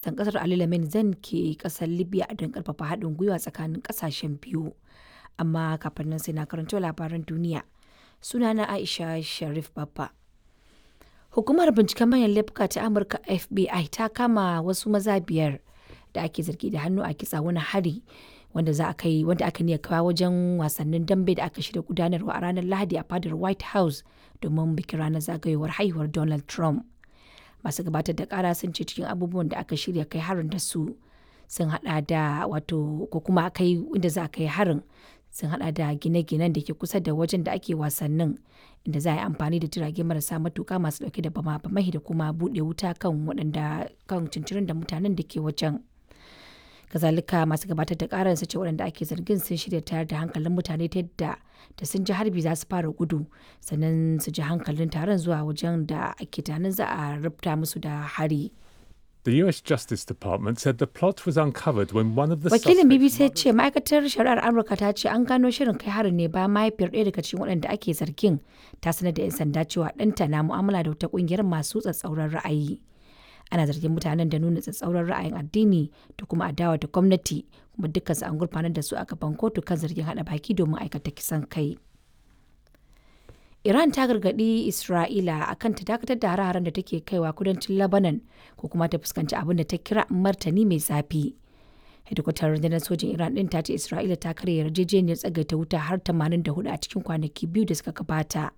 Ministan ƙasar Ali Lamin Zan ke ƙasar Libya don ƙarfafa haɗin gwiwa tsakanin ƙasashen biyu. Amma kafin nan sai na karanto labaran duniya. Sunana Aisha Sharif Babba. Hukumar binciken manyan laifuka ta Amurka FBI ta kama wasu maza biyar da ake zargi da hannu a kitsa wani hari wanda za a kai wanda aka niyya kawo wajen wasannin dambe da aka shirya gudanarwa a ranar Lahadi a fadar White House domin bikin ranar zagayowar haihuwar Donald Trump. Masu gabatar da kara sun ce cikin abubuwan da aka shirya kai harin da su sun hada da wato ko kuma kai inda za a kai harin sun hada da gine-ginen da ke kusa da wajen da ake wasannin inda za a yi amfani da jirage marasa matuka masu dauke da bama-bamai da kuma bude wuta kan waɗanda kan cincirin da mutanen da ke wajen. Kazalika masu gabatar da karar su ce waɗanda ake zargin sun shirya tayar da hankalin mutane ta yadda da sun ji harbi za su fara gudu sannan su ji hankalin taron zuwa wajen da ake tunanin za a rubuta musu da hari. The US Justice Department said the plot was uncovered when one of the Wakilin suspects' BBC ya ce ma'aikatar shari'ar Amurka ta ce an gano shirin kai harin ne bayan mahaifiyar ɗaya daga cikin waɗanda ake zargin ta sanar da 'yan sanda cewa ɗanta na mu'amala da wata ƙungiyar masu tsatsauran ra'ayi. Ana zargin mutanen da nuna tsatsauran ra'ayin addini da kuma adawa da gwamnati kuma dukkansu an gurfanar da su a gaban kotu kan zargin haɗa baki domin aikata kisan kai. Iran ta gargaɗi Isra'ila akan ta dakatar da hare-haren da take kaiwa kudancin Lebanon ko kuma ta fuskanci abin da ta kira martani mai zafi. Hedikwatar rundunar sojin Iran ɗin ta ce Isra'ila ta karya yarjejeniyar tsagaita wuta har 84 a cikin kwanaki biyu da suka gabata.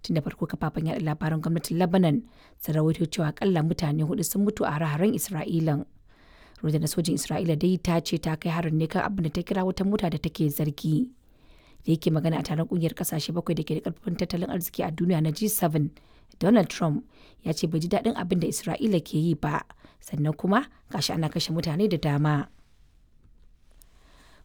Tun da farko kafafen yaɗa labaran gwamnatin Lebanon sun rawaito cewa akalla mutane hudu sun mutu a hare-haren Isra'ilan. Rundunar sojin Isra'ila dai ta ce ta kai harin ne kan abin da ta kira wata mota da take zargi. Da yake magana a taron kungiyar kasashe bakwai da ke da karfin tattalin arziki a duniya na G7, Donald Trump ya ce bai ji daɗin abin da Isra'ila ke yi ba, sannan kuma gashi ana kashe mutane da dama.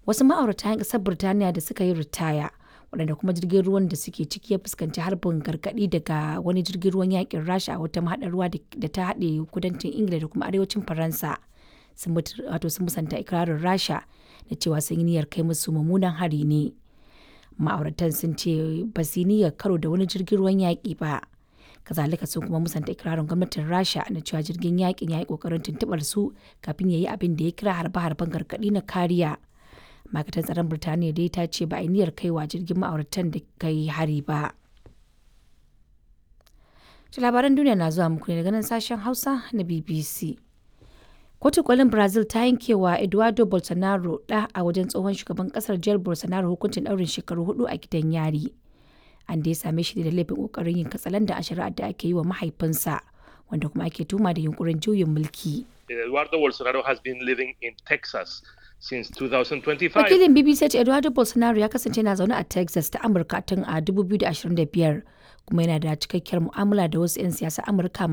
Wasu ma'aurata 'yan ƙasar Birtaniya da suka yi ritaya, waɗanda kuma jirgin ruwan da suke ciki ya fuskanci harbin gargaɗi daga wani jirgin ruwan yakin Rasha a wata mahaɗar ruwa da ta haɗe kudancin Ingila da kuma arewacin Faransa. Sun musanta ikirarin Rasha da cewa sun yi niyyar kai musu mummunan hari ne. Ma'auratan sun ce ba su niyyar karo da wani jirgin ruwan yaƙi ba. Kazalika sun kuma musanta ikirarin gwamnatin Rasha na cewa jirgin yaƙin ya yi ƙoƙarin tuntuɓar su kafin ya yi abin da ya kira harbe-harben gargaɗi na kariya. Ma'aikatar tsaron Birtaniya dai ta ce ba a niyyar kaiwa jirgin ma'auratan da kai hari ba. To labaran duniya na zuwa muku ne daga nan sashen Hausa na BBC. Kotun kolin Brazil ta yankewa Eduardo Bolsonaro ɗa a wajen tsohon shugaban kasar Jair Bolsonaro hukuncin ɗaurin shekaru hudu a gidan yari. An dai same shi da laifin kokarin yin katsalanda a shari'ar da ake yi wa mahaifinsa, wanda kuma ake tuma da yunkurin juyin mulki. Eduardo Bolsonaro has been living in Texas since 2025. Wakilin BBC ya ce Eduardo Bolsonaro ya kasance na zaune a Texas ta Amurka tun a 2025 kuma yana da cikakkiyar mu'amala da wasu 'yan siyasa Amurka.